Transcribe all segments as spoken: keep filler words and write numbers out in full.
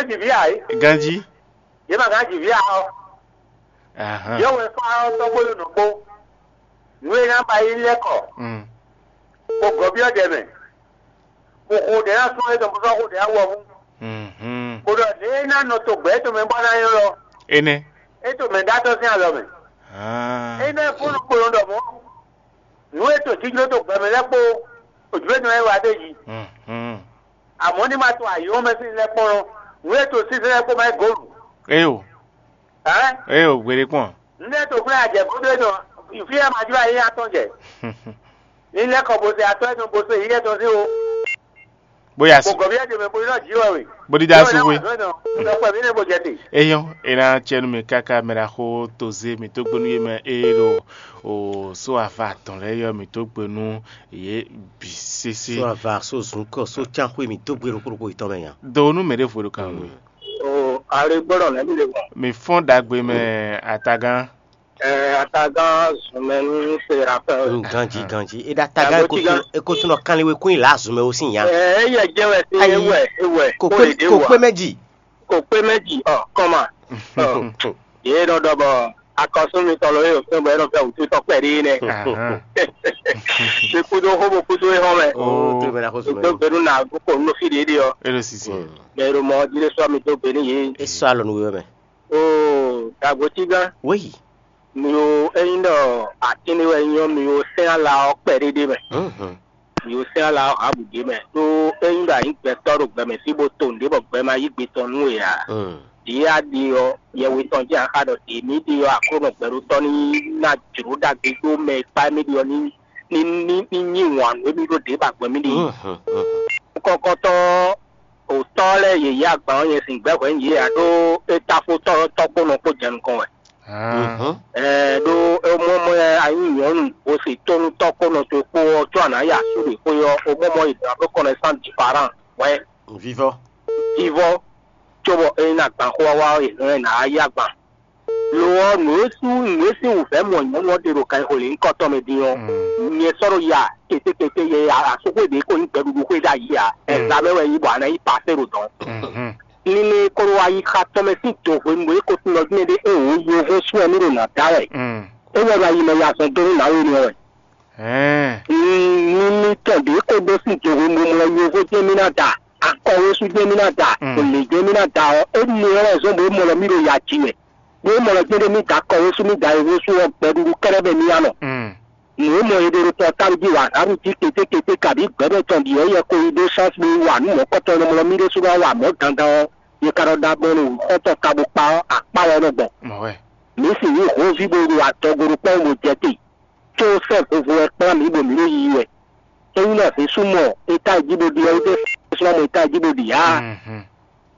Jivia é. Ganji. Yě ma gán jivia ɔ́. Ahan. Yɔ́wɛ fá ɔ́ tɔ́gbónú nɔgbó. Nǔ e ná ba yí lɛ́ kɔ. Mm. Kó gɔ̌byɔ́ ɖɛ mɛ. Kó xo ɖɛ ná sɔ́ é tɔn bó sɔ́ xo ɖɛ ná wɔhún. Mhm. Kó ɖɔ lě e ná nɔ to gbɛ̌ tɔn mɛ bɔ ná nyɔ́ lɔ. Énɛ́. É to mɛ ɖó atɔ́ sín alɔ mɛ. Ah. Énɛ́ fúnnu kplɔn ɖɔ mɔ̌. Nǔ e to jijló to gbɛ mɛ lɛ́ɛ kpó òjúwénú lɛ́ɛ wá ɖ'é jí. Mhm. Amɔ̌ ní ma to ayǐ ɔ́ mɛ sín lɛ́ kpɔ́n ɔ́, nǔ e to sínsɛ́n lɛ́ɛ kpó ma nyí gǒlu. Éyo. Hɛ̌n? Éyo, gbeɖé kpɔn. Nǔ e to xwlɛ́ ajɛ gúdo é nɔ fí e ma jló ayé atɔn jɛ. Ní lɛ́ kɔ bo se atɔ́ énɛ́ bo se yí étɔn sín o. Bó ya Bó su. Gɔ̌ byɔ́ jɛ mɛ bo ylɔ́ jǐ wɛ we. Bó dídá Yɔ́ sú wɛ ná wé. Wà zɔ́ nɔ, sɔkpɛ mǐ nɛ bo jɛ te. Eyɔn, e ná cɛ nú mi káká mɛ ɖaxó Tozé, mǐ tó gbénú yé mɛ eye ɖo o só ava atɔn lɛ́ɛ yɔ mǐ tó gbe nú yě bǐ sésé. Só ava, só zǔnkɔ, só cánxwé mǐ dó gbe ɖokpó ɖokpó yětɔn mɛ nya. Do nú mɛ ɖěvo ɖo kan we. O ale gbọ́dọ̀ nẹ́bí lè gbọ́n. Mǐ fɔ́n ɖagbe mɛ atagán. Ɛ atagán zunmɛ ní Serafin. Ganji, ganji. E ɖo atagán Agbo tiga. Ekotunɔ kanliwe kún yi là zunmɛ wo sín nya. Ɛ eyɛ jẹ́ wɛ sí Ayi. Ewɛ ewɛ. Kò Kó pé lè dé kò wà. Pé méjì. Kò pé méjì ɔ kọ́mà. Ɔ yé nɔ dɔ bɔ akɔsún mi tɔn lɔ yóò fɛn bɔ yé nɔ fẹ́ wùtú tɔn pɛ̀lú yín nɛ. Ahan. Ṣe kúdó xó bó kúdó é hɔn mɛ. Oh, tó bẹ̀rẹ̀ àkóso Tó mẹ́rin. Gbẹdú nà kó nú fí ɖééɖé ɔ. E ɖo sisi. Mm. Mɛ ɖo mɔ jílé sɔ mi dó gbe ní yé. E sɔ alɔ nú wíwẹ́ mɛ. Oo, dàgbò tí gán. Wéyì. Mi o eyín ɖɔ atínní wɛ nyɔ mi o sɛn ala ɔ kpɛ ɖéɖé mɛ. Mhm. Mi o sɛn ala ɔ ha bǔ ɖé mɛ. Ɖó eyín ɖɔ anyí gbɛtɔ́ ɖo gbɛmɛ fí bó to nǔɖé bɔ gbɛ ma yí gbe tɔn nú we ǎ. Mm. Ɖě a ɖe ɔ́, yɛwe tɔn jɛ axa ɖɔ ɖě mì ɖe ɔ́, Aklúnɔ gbɛɖótɔ́ ní ná jlǒ ɖagbe dó mɛ e kpá émí ɖe ɔ́ ní ní ní ní nyi wǎn nú émí ɖó ɖě ba gbɔn émí ɖe. Mhm, mhm. Kɔkɔtɔ́ òtɔ́ lɛ́ɛ yě yí agban ɔ́ nyɛ sin gbɛ́ hwɛ̌ yě ǎ ɖó é táfó tɔ́ tɔ́kpónɔ kpó jɛ nukɔn wɛ. Ah. Mhm. Ɛɛ ɖó é mɔ mɔ yɛ a nyí nyɔ̌nu bó se tónú tɔ́kpónɔ towe kpó ɔ́ có a nǎ ya asú ɖě xwé ɔ́, é mɔ mɔ yě ɖǎ ɖó kɔnɛsán diparan hwɛ̌ Vivɔ. Vivɔ cóbɔ é nyí agban xó wá wá ɔ́, yě hɛn ná yí agban. Lo ɔ́, nǔ e sú nǔ e sín wǔvɛ́ mɔ nyɔ̌nu ɔ́ ɖe ɖo kanxolě nyǐkɔ tɔn mɛ din ɔ́, Mm. nyɛ sɔ́ ɖo ya kétékété yɛ asúxwé ɖě ko nyí gbɛɖuɖu xwé ɖ'ayǐ ǎ. Mm. Ɛzamɛ wɛ yí bɔ a nǎ yí pasé ɖo dɔ̌n. Mhm. Níní e ko ɖo ayixa tɔn mɛ sín do hwenu e ko tunɔ dín ɖé e wǒ yovó sú wɛ mí ɖo nǎ da wɛ. Mm. É wɛ ɖo ayi mɛ ya zɔn dó nú nǎwe nú ɔ́ wɛ. Hɛn. Ní ní tɔn ɖě ko ɖó sín do hwenu mɔ yovó jɛ́n mí ná da, akɔwésú jɛ́n mí ná da, Mm. olě jɛ́n mí ná da ɔ́, énɛ́ ɔ́ wɛ zɔ́n bɔ é mɔ lɔ mí ɖo ya ji wɛ. Ɖó mɔ̌ lɛ́ jɛ́n ɖé mì da kɔwé sú mì da yěhó sú ɔ́, gbɛɖuɖu kɛ́ɖɛ́ mɛ mì ya nɔ. Mm. Nǔ e mɔ è ɖe ɖo pɔ́táblu jí wa hǎnnu jí kétékété kabǐ gbɛ̌ mɛ tɔn ɖi ɔ́, yɛ ko yi ɖó sánsí wa nǔ mɔ̌kɔtɔn e nɔ mlɔ́ mì ɖésú ná wa mɔ̌ dandan ɔ́, yě ka nɔ ɖa gbɔn ɖo xɔ́ntɔn ka bó kpa ɔ́, akpá wɛ é nɔ gbɔn. Mɔ̌ wɛ. Mǐ sixú hǒnví bó ɖo adɔgo ɖokpɔ́ bó jɛ te, có sɛ́ vovo wɛ kplá mǐ bɔ mǐ ɖo yiyi wɛ. Ényí nɔ hǐsú mɔ étájí bó ɖi ɔ́, é ɖésú ná mɔ étájí bó ɖi ǎ. Mhm.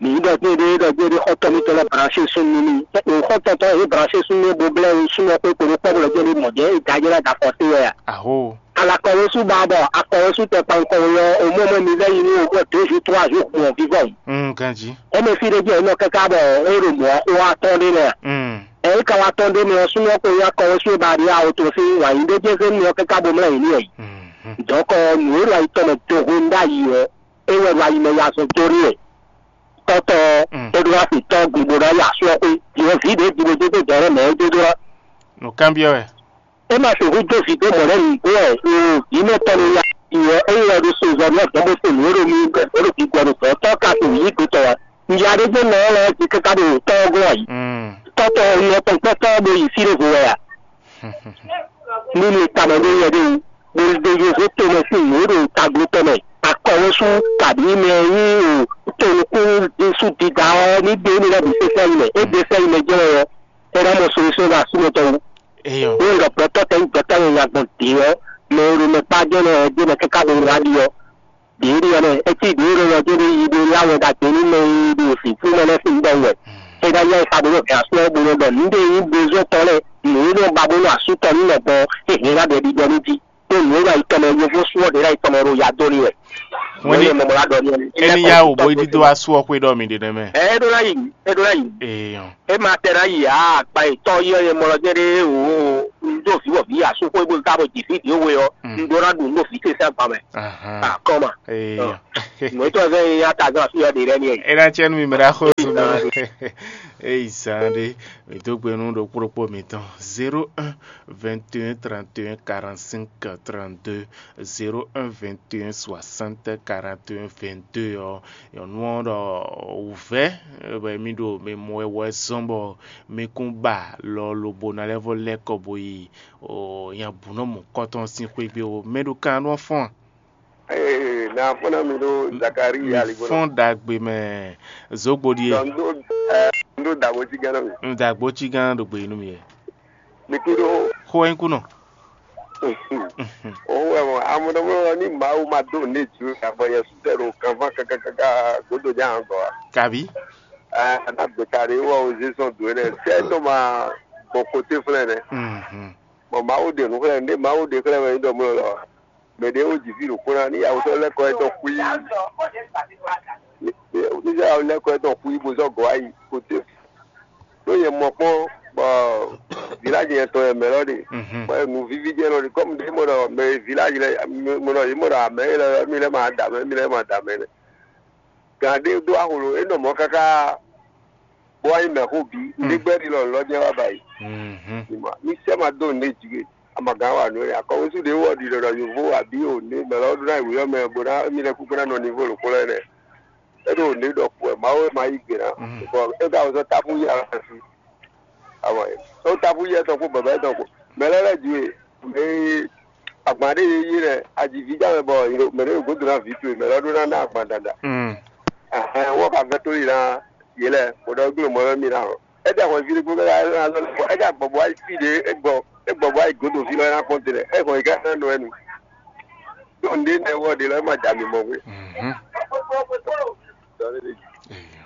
Mǐ ɖɔ gbéɖé ɖɔ gbéɖé xɔ́ntɔn mitɔn lɛ́ɛ branché súnnu n'i. Xɔ́ntɔn tɔn e branché súnnu bó blɛ́ súnnu ɔ́ kpé kpódó kpɔ́ bó lɔ jɛ́n ɖé mɔ̌ jɛ́n é da jɛ́n ná da fɔ sé wɛ a? Aho. Alakɔwésú ba bɔ akɔwésú tɛ kpankɔ we ɔ́, omɔ́ mɔ mi lɛ́ yi nú omɔ́ deux jours trois jours gbɔn vivɔ. Mm, ganji. Émɛ fí ɖé jɛ nɔ káká bɔ é ɖo mɔ̌ xó atɔ́ ɖé mɛ a? Mm. Ɛ é ka wá tɔ́n ɖé mɛ ɔ́, súnnu ɔ́ kpo nyí akɔwésú e ba ɖi awo tɔn sín wǎnyíɖéjézé nú ɔ káká bó mlɛ́ yě ní ɛ yi. Mhm. Dɔ̌nkɔ nǔ e ɖo ayi tɔn mɛ do hwenu ɖ'ayǐ ɔ́, é wɛ ɖo ayi mɛ ya zɔn dó ɖé wɛ. Tɔ́tɔ́ ɔ́, Mm. é ɖó ná fi tɔ́ gbigbó ná yi asú ɔ́ xwé. Yě vǐ ɖě jibo dó dó dɔ̌ mɛ é dó dó ná. Nǔkanbyɔ́ wɛ. É ma sixú dó vǐ dó mɔ̌ lɛ́ɛ nǔgbó wɛ, vǐ mɛ tɔn ní ya yi ɔ́, é wɛ ɖo sozɔ́ ní ɔ́ dɔn bó se nǔ e ɖo mí bó ɖo gbígbɔ ɖo gbɔ̌ tɔ́ ka to yǐ gbé tɔn wɛ. Nya ɖé gbé mɛ ɔ́ lɛ́ɛ jí káká ɖo tɔ́ ɔ́ gɔ́n ayǐ. Mm. Tɔ́tɔ́ ɔ́ nɔ tɔn kpɔ́tɔ́ ɔ́ ɖo yi fí ɖěvo wɛ a? Nínú tamɛ ɖé yɛ ɖé wú, bó ɖo yovó tomɛ sín nǔ e ɖo tagló tɔn mɛ, akɔwésú kabǐ mɛ e nyí o tonukún Jezu dida ɔ́ ní ɖe émí lɛ́ɛ bǐ sésɛ́ yi mɛ. É ɖe sɛ́ yi mɛ jɛ́n wɛ ɔ́, é ná mɔ solution ɖo asú mɛ tɔn wú. Eyɔ. Wó ɖɔ gbɛtɔ́ tɛn gbɛtɔ́ nyanya gbɔn dě ɔ́, mɛ e ɖo mɛ kpá jɛ́n nɔ ɔ́ jɛ́n mɛ káká ɖo wá ɖi ɔ́. Ɖěɖi ɔ́ nɛ́, é cí ɖě e ɖɔ jɛ́n ɖé yi ɖó lá wɛ ɖagbe nú mɛ e ɖo sǐkú mɛ lɛ́ɛ sín ɖɔ wɛ. É ná yá e xa bó nɔ hɛn asú ɔ́ bó nɔ ɖɔ nǔɖé e nyí bezɔ́ tɔn lɛ́ɛ, nǔ e nɔ ba bó nɔ asú tɔn nú mɛ gbɔn é hɛn ná ɖɛ ɖiɖɔ nú jí. Ɖó nǔ e ɖo ayi tɔn mɛ, yovó sú ɔ́ ɖě ɖo ayi tɔn mɛ ɖo ya dó n'i wɛ. Wɛn ní Nǔ e mɔ mɔ lá ɖɔ n'i wɛ. É ní yá wò bó yi dídó asú ɔ́ xwé ɖɔ mi ɖe nɛ́ mɛ. Ɛ é ɖó ná yi, é ɖó ná yi. Ee, hɔn. É ma tɛ ná yi ǎ, akpa yětɔn yi ɔ́, yɛ mɔ lɔ jɛ́n ɖé wǒ. Ɖo vǐ wɔ vǐ asúxwé bó ka bɔ jǐ fí ɖě we ɔ́, un ɖó ná ɖu nú ɖo vǐ ce sín agban mɛ. Akɔ́ma. Mɔ̌ tɔn zɛ́n nyi atazɔn afí ɔ́ ɖe lɛ́ɛ n'i. É ná cɛ nú mi mɛ ɖaxó zun mɛ. Eyi zán ɖé, mi dó gbe nú ɖokpó ɖokpó mitɔn. Zéro un, vingt et un, trente et un, quarante-cinq, trente-deux, zéro un, vingt et un, soixante, quarante et un, vingt-deux ɔ́, nyɔ̌nu ɔ́ ɖɔ wǔvɛ́ bɔ mi ɖo mi mɔ wɛ wɛ zɔ́n bɔ mi kún ba lɔ lobo ná lɛ́ vɔ lɛ́ kɔ bo yi nya bǔ nɔ mɔ kɔ́tɔn sín xwé gbé ó. Mɛ ɖo kan nɔ fɔ́n a? Ee, na fɔ́n ná mi ɖó Zakari mi aligbó. Fɔ́n ɖagbe mɛ zogbo ɖíe. Dɔn ndo ɛ ndo dagbo ci gán nɔ mi. Un dagbo ci gán ɖo gbe nú mi yɛ. Mi kí ɖó. Xó ɛ kú nɔ. Òun wɛ mɔ amúnɔmúnɔ ní Mawu ma dó ní jù abɔ yɛ sutɛ ɖo kanfán kákákáká gbódò ní àgọ́ wa. Kabi. Ɛ aná gbèta ɖé wɔ òzé sɔn dò é nɛ sɛ tó ma gbɔn koté flɛ́ nɛ. Bɔn Mawu ɖe nǔ xlɛ́ nǔ ɖé Mawu ɖe xlɛ́ wɛ ní ɖɔ mɔ lɔ. Mɛ ɖě wo jǐ fí ɖo kpó ná ní yawutɔ́ lɛ́ kɔ ɛ tɔn xwí. Ní ní yawutɔ́ lɛ́ kɔ ɛ tɔn xwí bó zɔ́ gɔ̌ wá yi koté. Ɖó nyɛ mɔ kpɔ́n bɔ vǐláji yɛn tɔn yɛ mɛ lɔ ɖe. Bɔ nu víví jɛ lɔ ɖe kɔmu ɖé mɔ ɖɔ mɛ vǐláji lɛ mɔ ɖɔ yě mɔ ɖɔ amɛ lɛ mi lɛ ma da mɛ mi lɛ ma da mɛ nɛ. Gǎn ɖé ɖó aholo é nɔ mɔ̌ káká bó wá nyí mɛ̌xó bǐ. Ɖé gbɛ́ ɖi lɔ lɔ jɛ wá ba yi. Mi sɛ́ ma dó nǔɖé jǐ we. Amagán wa nǔ e akɔwúsú ɖé wɔ ɖi ɖɔɖɔ yovo abǐ o ní mɛ lɔ ɖó ná yi wǐyɔ mɛ bó ná émí lɛ́ kúkú ná nɔ nivo lǒkpó lɛ́ɛ nɛ. É ɖo nǔ ɖɔ kú wɛ Mawu e ma yí gbe ná. Bɔ é ka wɛ sɔ́ táfú yí alɔ fí. Awɔ é táfú yí ɛtɔn kpó bɛbɛ ɛtɔn kpó. Mɛ lɛ́ lɛ́ ji e mɛ e agban ɖé yé yí lɛ ajiví já mɛ bɔ mɛ ɖé ɖo gǒdo ná vǐ towe mɛ lɔ ɖó ná ná agban dada. Ɛhɛn wɔ ka vɛ tó yi ná yě lɛ bó ɖɔ gbé mɔ lɔ mì ná ɔ. É ɖi ahwanví ɖé gbó bɔ é ɖi agbɔ̌gbɔ wá yi fí ɖé é gbɔ é gbɔ̌gbɔ wá yi gǒdo fí lɔ é ná kpɔ́n te lɛ é hɔn yi ká ná nɔ ɛnu. Ɖó nǔɖé nɛ wɔ ɖe lɔ é ma da mi mɔ gbé.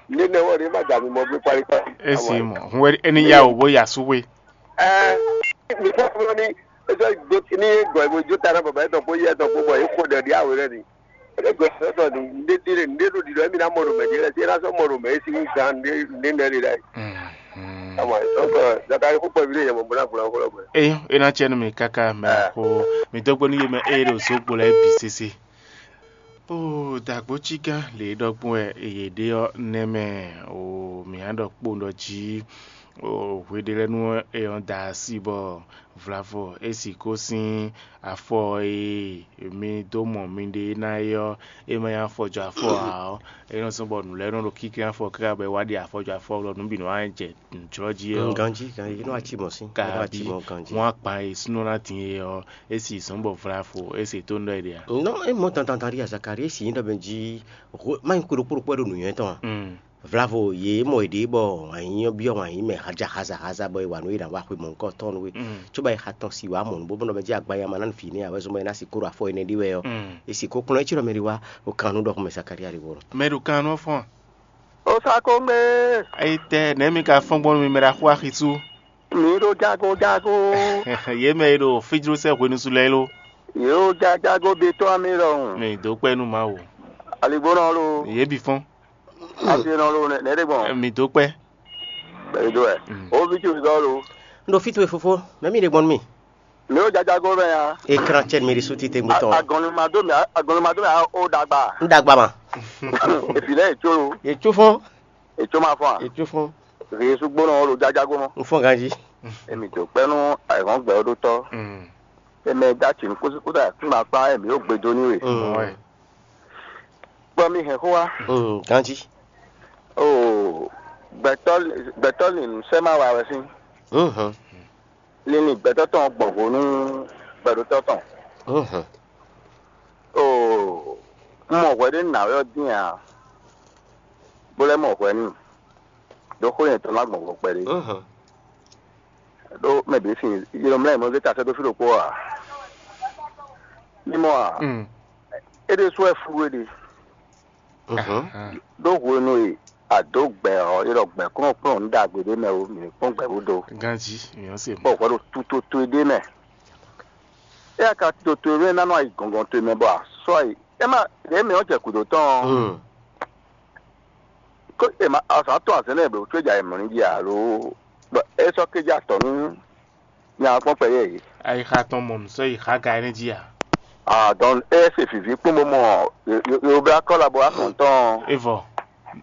Nǔɖé nɛ wɔ ɖe é ma da mi mɔ gbé kpali kpali. Esi mɔ hun wɛ ɛni ya o bó ya sú we. Ɛɛ mi fɔ fɔlɔ ni ezɔ do ni gɔ ebo jo ta na baba etɔn ko yɛ etɔn ko bɔ e ko ɖe ɖi awo lɛ ni. Ebe gbɛsɛtɔ ɖe ɖe ɖe ɖo ɖiɖɔ emi na mɔ ɖo mɛ ɖi lɛ ti ena sɔ mɔ ɖo mɛ esi wu gan ɖe ɖe nɛ ɖe ɖe. Ama donc zakari kó kpɔvi ɖe yɛmɔ bɔna gbɔna kó lɔ gbɛ. Eyo, ena tsɛ nu mi kaka mɛ ko mi dɔgbo nu ye mɛ eye ɖo zogbo lɛ bi sese. O dagbo tsiga le ɖɔgbɔn wɛ eye ɖe ɔ nɛ mɛ o mi hã ɖɔ kpo ɖɔ dzi o hweɖelɛnu ɔ e ɔ da asi bɔ Vlavo e si ko sín afɔ e mi dó mɔ miɖée ná é ɔ́, é ma nyí afɔjɔafɔ ǎ ɔ́, é nɔ zɔ́n bɔ nǔ lɛ́ɛ nɔ ɖo kínklɛ́n afɔ káká bɔ é wá ɖe afɔjɔafɔ lɔ nǔ bǐ nɔ wá jɛ nǔjlɔ́ jí ɔ́. Ganjí ganjí é nɔ wá cí mɔ̌ sín é nɔ wá cí kabi mɔ̌ ganjí. Mɔ akpan e súnɔ ná din é ɔ́, é si zɔ́n bɔ Vlavo é se tó nú ɖɔ é ɖe ǎ. Nɔ é mɔ dandan ɖi azakari é si nyí ɖɔ mɛ jí má nyí kpo ɖokpó ɖokpó wɛ ɖo nǔnywɛ́ tɔn ǎ. Vlavo yě mɔ yěɖée bɔ wǎn yíyɔ́ byɔ́ wǎn yí mɛ haja haza haza bɔ è wa nǔ e è nǎ wa xwe mɔ̌hunkɔtɔn nú we. Cóbɔ è xa tɔn si wǎ mɔ̌ nú bó nɔ mɛ jí agban ya ma ná nǔ vǐ nɛ́ ǎ wɛ zɔn bɔ è ná si kó ɖo afɔ énɛ́ ɖi wɛ ɔ́, è si kó kplɔ́n é cí ɖɔ mɛ ɖi wá ɖo kan nú ɖɔhun mɛ Zakalía ɖi wɔ. Mɛ ɖo kan nɔ fɔ́n. Ó sá kó ŋgbé. Ayitɛ nɛ̌ mi ka fɔ́n gbɔn nú mi mɛ ɖo axú axisú? Mi ɖo jago jago. Yě mɛ e ɖo fíjlósɛ́ hwenusu lɛ́ɛ lo. Yě ɖo jajago be tɔn mi ɖɔhun. Mi dó kpɛ́ nú Mawu. Aligbónɔ lo. Yě bǐ fɔ́n. Asi nɔ lo nɛ ɖe gbɔn. Mi dó kpɛ́. Bɛyi dó wɛ. O vi tso zɔ lo. N ɖo fí towe fofo, mɛ mi ɖe gbɔn nú mi. Mi ɖo jajago mɛ ya. Ekran cɛ mi ɖi sú titewungbe tɔn. Agɔnlima dó mi agɔnlima dó mi o dagba. N dagba ma. Efi lɛ etso lo. Etso fɔn. Etso ma fɔn a. Etso fɔn. Efi yesu gbónɔ o lo jajago mɔ. N fɔn ganji. Emi tó kpɛnu ayihɔn gbɛ o ɖó tɔ. Eme dati nukúnsúkúta kúnba kpá emi o gbedo ní we. Kpɔ mi hɛn xó wa. Ganji. Oo, gbɛtɔ gbɛtɔ lin sɛ ma wa wɛ sín. Lin gbɛtɔ tɔn gbɔn vo nú gbɛɖotɔ tɔn. Oo, un mɔ hwɛ ɖé nǎwe ɔ́ dín ǎ, bó lɛ́ mɔ hwɛ n'i, ɖó xó nyɛtɔn ná gbɔn vo kpɛɖé. Ɖó mɛ bǐ sin yě nɔ mlá yě mɔ zé ta sɛ́ dó fí ɖokpó ǎ. Mi mɔ a? É ɖésú wɛ fú we ɖe. Ɖó hwenu e a dǒ gbɛ ɔ́, é ɖɔ gbɛ kplɔ́nkplɔ́n nǔ ɖagbe ɖé mɛ o, mǐ ní kpɔ́n gbɛ bó do. Ganjí, mǐ nɔ se mɔ̌. Bɔ hwɛ ɖo tuto towe ɖé mɛ. É ka tuto towe mɛ ná nɔ ayi gɔngɔn towe mɛ bɔ a sɔ́ ayi. É má ɖě mǐ ɔ́ jɛ gǔdo tɔn ɔ́. Kó è ma azǎn tɔn azɛ̌n lɛ́ɛ ɖo tó jɛ ayǐmlɔ́ jí alo bɔ é sɔ́ kéjá tɔ̌ nú Nya kpɔn kpɛ yɛ yìí. Ayixa tɔn mɔ nǔ sɔ́ yi xá ga énɛ́ jí a? Ah, donc eye se vivi kpɔn bó mɔ yoblá kɔla bó wá kɔn tɔn. Evɔ.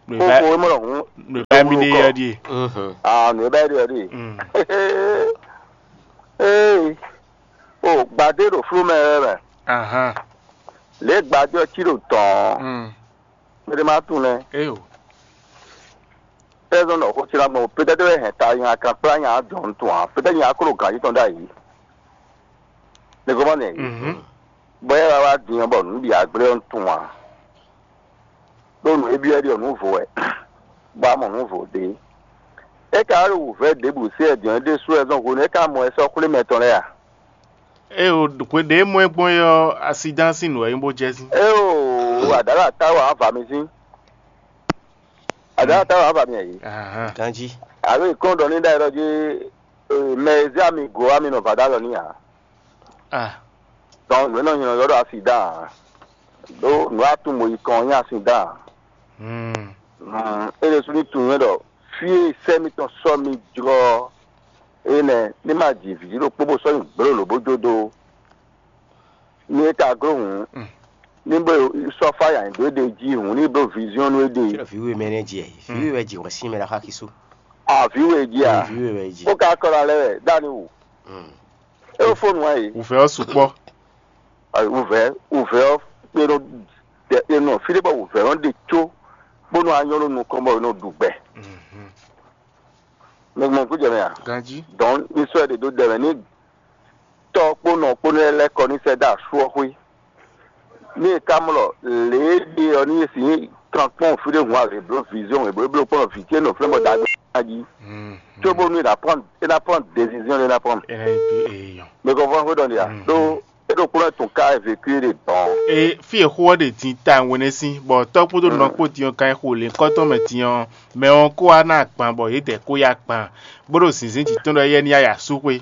Kókó emɔ lɔ hun. Nùbá mi ɖe yɔ ɖíe. Ah, nùbá ɖe yɔ ɖíe. Ee, o gbadé ɖo flú mɛ wɛ mɛ. Ahan. Lě gbadé ɔ́ cí ɖo tɔn. Mɛɖé má tunwun lɛ́ɛ. Eyo. Pɛ́zɔn nɔ xó cílá gbɔn pétɛ́tɛ́ wɛ hɛn ta nya kan kplá nya dɔn tun ǎ. Pétɛ́ nya kó ɖo gǎn yětɔn ɖ'ayǐ. Nɛgɔmɔ nɛ yě. Bɔ é wá wá din ɔ́ bɔ nǔ bǐ agblé ɔ́ tun ǎ. Ɖó nǔ e byɔ́ é ɖi ɔ́ nǔ vo wɛ, bɔ a mɔ nǔ vo ɖě. É ka wá ɖo wǔvɛ́ ɖěbǔ se wɛ din ɔ́ ɖésú wɛ zɔn hwenu e é ka mɔ wɛ sɔ́ xwlé mɛ tɔn lɛ́ɛ a? Ée o, hwe ɖě e mɔ ɛ gbɔn é ɔ́, asidán sín nǔ wɛ nyí bó jɛ sín. Ée o, àdǎlà táwà á va mi sín. Àdǎlà táwà á va mi ɛ yìí. Ahán. Ganjí. Àbí ìkɔn ɖɔ ní ɖa ɛ ɖɔ jí mɛ e zé ami gǒ ami nɔ va dó alɔ ní ǎ. Ah. Donc nǔ e nɔ nylɔ ylɔ́ ɖɔ asidán ǎ. Ɖó nǔ e atún mo yi kɔn ɔ́ nyí asidán ǎ. Hmm. Mm, é ɖésú ní tunwun nyɛ ɖɔ fí e sɛ́ mitɔn sɔ́ mi jlɔ́ ɔ́, énɛ́ ní ma ji vǐ ɖokpó bó sɔ́ nyi gblo lǒ bó jó dó. Ní é ka gló hǔn, ní bó sɔ́ fá yǎ dó é ɖe jí hǔn ní bló viziɔ́n nú é ɖe. Fí ɖɔ vǐ we mɛ nɛ́ ji ɛ, vǐ we wɛ ji hwɛ̌ sín mɛ ɖo axá xisú. Avǐ we jí a? Vǐ we wɛ ji. Bó ka kɔ ɖo alɛ wɛ ɖó ani wǔ. Mm. É wó fó nǔ wá yě. Wǔvɛ́ ɔ́ sukpɔ́. Wǔvɛ́ wǔvɛ́ ɔ́ kpé nɔ ɖe e nɔ fí ɖé bɔ wǔvɛ́ nɔ ɖe có bónú a nyɔ́ ɖo nukɔn bɔ è nɔ ɖu gbɛ. Mhm. Mɛ gbɔn kú jɛ mɛ a? Ganjí. Dɔn ní sɔ́ ɛ ɖe dó ɖɛ mɛ ní tɔ́ kpó nɔ kpó nɛ́ lɛ́ kɔ ní sɛ́ dó asú ɔ́ xwé. Ní è ká mlɔ lě e ɖe ɔ́ ní è sǐ kan kpɔ́n fí ɖé hun azě bló viziɔn e bló bló kpɔ́n vǐ ce nɔ flɛ́n bɔ da gbé ná jí. Mhm. Cóbónú è nǎ prendre, è nǎ prendre décision, è nǎ prendre. Ena yi tu eyɔn. Mɛ kɔ fɔ́n xwé ɖɔ ɖe a? Mhm. Ɖó é ɖo kplɔ́n tun ká é vécu é ɖe dɔn. E fí e xó ɔ́ ɖe din ta wɛnɛ sín, bɔ tɔ́ kpódó nɔ kpó din ɔ́ kan xo lě kɔ́tɔn mɛ din ɔ́, mɛ ɔ́ kó wá ná agban bɔ yědɛɛ kó yá agban, bó ɖo zǐnzín jǐ tɔn ɖɔ éyɛ́ ní yá yi asú xwé.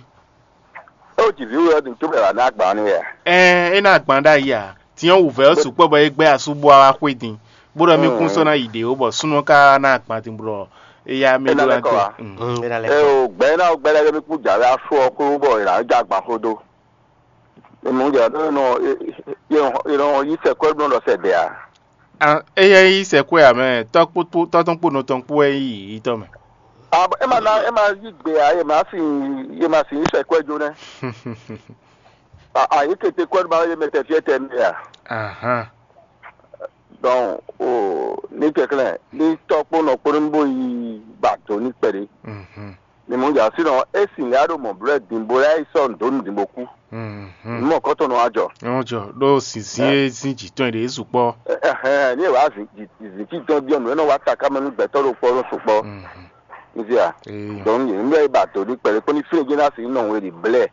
É wǒ ji vǐ we ɔ́ din tó bɛ̌ wǎ ná agban n'i wɛ a? Ɛn é ná agban ɖ'ayǐ ǎ. Din ɔ́ wǔvɛ́ ɔ́ sukpɔ́ bɔ é gbɛ́ asú bó wá xwé din, bó ɖɔ mí kún sɔ́ ná yi ɖě ó, bɔ súnnu ɔ́ ka ná agban din bó ɖɔ éyá mí É ná ɖó lɛ́ ná kɔ dó. Wá. Mm. É ná lɛ́ Ɛ kɔ. O gbɛ̌ ná gbɛ́ lɛ́ɛ mí kú jà wɛ afú ɔ́ kú bɔ è nǎ jɛ agban xó dó. È mɔ jà ɖó nɔ è nɔ yí sɛkwɛ́ bló ɖɔ sɛ dɛ a? Ah, éyɛ́ nyí sɛkwɛ́ ǎ mɛ, tɔ́ kpó tɔ́ tɔn kpó nɔ tɔn kpó wɛ nyí yǐyítɔ́ mɛ. Ah, é ma ná é ma yí gbe ǎ, è ma sin è ma sin yí sɛkwɛ́ jó nɛ́. Ah, ah, yě kete kwɛ́ ma yé mɛ tɛ fiɛ tɛ mɛ a? Ahán. Donc o ní kɛklɛ́ ní tɔ́ kpó nɔ kpó ní bó yi ba dǒ ní kpɛɖé. Mhm. Ní mɔ jà sínɔ é sin lɛ́ ɖo mɔ̌ blɛ́ dǐn bó lɛ́ yi sɔ́ nǔ dó nǔ dǐn bó kú. Mhm. Nǔ mɔ kɔ́tɔn nɔ wá jɔ. Wọ́n jọ ɖó zǐnzín e sín jǐ tɔn ɖě sukpɔ́. Ɛhɛn, ní è wá zǐn jǐ tɔn byɔ́ nǔ e nɔ wá taká mɛ nú gbɛtɔ́ ɖokpó ɔ́ sukpɔ́. Mhm. Nzia. Eyɔn. Donc yě ní bɛ́ ba dǒ ní kpɛɖé kpó ní fínɛ́ jɛ́n ná sin nɔ we ɖi blɛ́.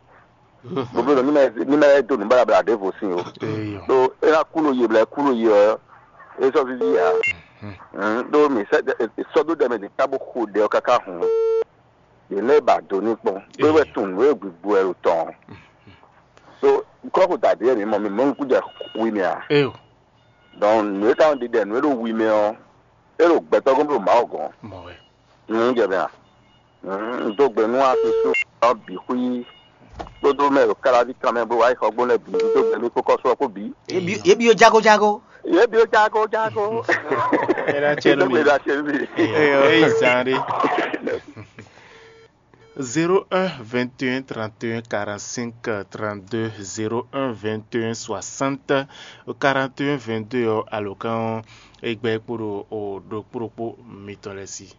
Bóbó nɔ ní mɛ ní mɛ dó nǔ baɖabaɖa ɖěvo sin o. Eyɔn. Ɖó é ná kú nɔ ye blɛ́ kú nɔ ye ɔ́, é sɔ́ víví ǎ. Mhm. Ɖó mǐ sɔ́ dó ɖɛ mɛ ɖě ká bó xo ɖɛ ɔ́ káká hǔn. Yě lɛ́ ba do ní kpɔ́n. Bó wɛ tunwun nǔ e gbigbo wɛ ɖo tɔn. So kɔ́xo da ɖě mi mɔ mi mɔ nukún jɛ wi mɛ a? Eo. Donc nǔ e ka nɔ ɖiɖɛ nǔ e ɖo wi mɛ ɔ́, é ɖo gbɛtɔ́ gɔ́n bó ɖo Mawu gɔ́n. Mɔ wɛ. Nǔ jɛ mɛ a? Un dó gbe nú asúsú ɔ́ bǐ xwí kpódó mɛ ɖo káláví kan mɛ bó wá yi xɔgbó lɛ́ɛ bǐ dó gbe mì kpó kɔ́sú ɔ́ kpó bǐ. Yě bi yě bi ó jágó jágó. Yě bi ó jágó jágó. Ela cɛ Dó nú gbe mi. Ɖo asyɛ́ nú mi. Eyi zan ɖe. Zéro un vingt et un trente et un quarante-cinq trente-deux, zéro un vingt et un soixante quarante et un vingt-deux ɔ́ alǒkan ɔ́ é gbɛ́ kpó ɖo o ɖokpó ɖokpó mitɔn lɛ́ɛ sí.